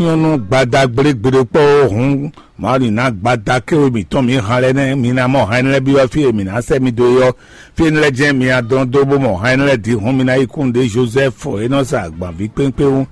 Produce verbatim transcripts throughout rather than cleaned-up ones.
Nyɔnu gbada gblégbeɖe kpɔ́ hǔn, Mawu ní ná gbada kéwe mǐtɔn mǐ han lɛ́ɛ nɛ́, mi ná mɔ han énɛ́ lɛ́ɛ byɔ́ fí e mǐ ná sɛ́ mi dó é ɔ́. Fí énɛ́ lɛ́ɛ jɛ́n mi ná dɔn dó bó mɔ han énɛ́ lɛ́ɛ din hǔn, mi ná yi kún ɖě Jozɛ́fu e nɔ sa agbanví kpékpé wú.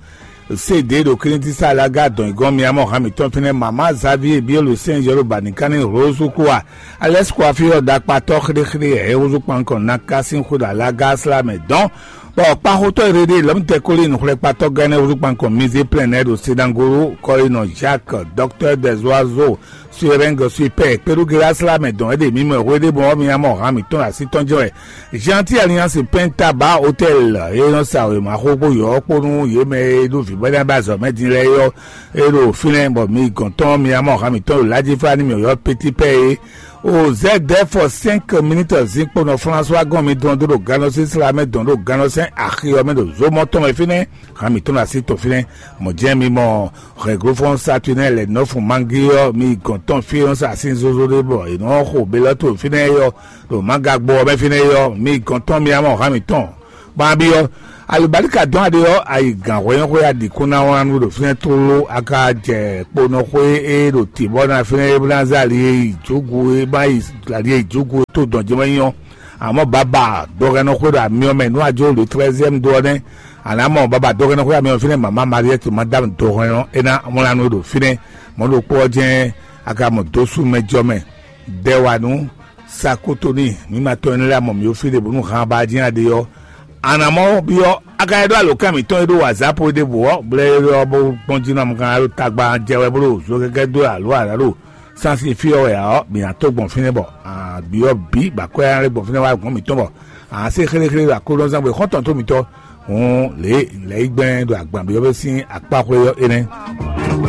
Sede ɖo Klíntisa Laga dɔn yi gɔ́n, mi ná mɔ han mǐtɔn fínɛ́. Mamá Zavíe Bielu sɛ́n Yɔluba ní ká ní Rose Kua, Alɛ́si Kua fí ɔ́ ɖakpatɔ́ xɖéxɖé ɛ húzú kpankɔn ná ká sín xwé ɖo Alaga slá mɛ dɔn. Bɔ kpaxotɔ́ e ɖe ɖe lɔ̌mtɛkoli nǔxlɛ́kpatɔ́ gɛ́nɛ́ húzú kpankɔn Mizé Plɛ́nɛ ɖo Sedangoro kɔ e nɔ Jacques, Docteur des Oiseaux, Suereng Suipɛ kpeɖugela slá mɛ dɔn é ɖe mǐ mɔ hwe ɖé bɔ mi nya mɔ han mǐtɔn ɖo así tɔn jɛ́n wɛ. Jean ti Alliance Penta ba Hotel e nɔ sa wěma xó kpó yɔ̌ kpó nú yě mɛ e ɖo vǐ bɔ ná ba azɔ̌ mɛ din lɛ́ɛ é ɔ́, é ɖo fínɛ́ bɔ mi gɔn tɔn mi nya mɔ han mǐtɔn ɖo Lajífá ní mǐ ɔ́ Petit Pɛ é. O Z D F cinq minutes zinkpo nɔ François gɔn mi dɔn dó ɖo gannɔsín sla mɛ dɔn ɖo gannɔsɛn axi ɔ́ mɛ ɖo zomɔ tɔn mɛ fínɛ́. Han mǐtɔn ɖo así tɔn fínɛ́. Mɔ̌ jɛ́n mi mɔ Regroupement Saturnel lɛ nɔ́ fun mangi ɔ́, mi gɔn tɔn fí e nɔ sa sín zozo ɖé bɔ è nɔ xo belɔ́to fínɛ́ é ɔ́, ɖo Magagbɔ ɔ́ mɛ fínɛ́ é ɔ́, mi gɔn tɔn mi ná mɔ han mǐtɔn. Bɔ a byɔ́, alǔbáríka dɔn aɖe ɔ́, a yi gǎn hwɛnyɔ́xwé a ɖi kún ná wlán nú ɖo fínɛ́ tlóló, a ka jɛ kponɔxwé e ɖo tǐ bɔ ná fínɛ́ é bó ná zé ali e yi jǒgo e ma yi ali e yi jǒgo e tó dɔn jɛ mɛ nyí ɔ́. Àmọ́ baba dɔhɛnnɔxwé ɖo amyɔ mɛ nú a jó le treizième do ɔ́ nɛ́. A nǎ mɔ baba dɔhɛnnɔxwé amyɔ fínɛ́ mama Mariette madame dɔhɛnnɔ é ná wlán nú ɖo fínɛ́. Mɔ̌ ɖokpó ɔ́ jɛ́n a ka mɔ dó sú mɛ jɔ mɛ. Dɛwanu Sakotoni, mǐ ma tɔn énɛ́ lɛ́ɛ mɔ mǐ ɖo fí ɖě bónú han ba jɛ́n aɖe ɔ́. A nǎ mɔ byɔ́ a ka yi ɖó alǒkan mǐtɔn e ɖó wǎzápo é ɖěbǔ ɔ́, blɛ́ é ɔ́ bó gbɔn jí nú amɔkan ɖo tagba jɛ wɛ bó ɖo zokɛkɛ dó alo ǎ ɖo sansi fí ɔ́ wɛ ǎ ɔ́, mǐ ná tó gbɔn fínɛ́ bɔ byɔ́ bǐ bɔ akwɛ́ ná lɛ́ gbɔn fínɛ́ wá gɔ̌n mǐtɔn bɔ a nǎ se xéléxélé ɖo aklúnɔzán gbe xɔ́ntɔn tó mǐtɔn. Hǔn lě lɛ̌ yi gbɛn ɖo agban byɔ́ sín akpáxwé ɔ́ énɛ́.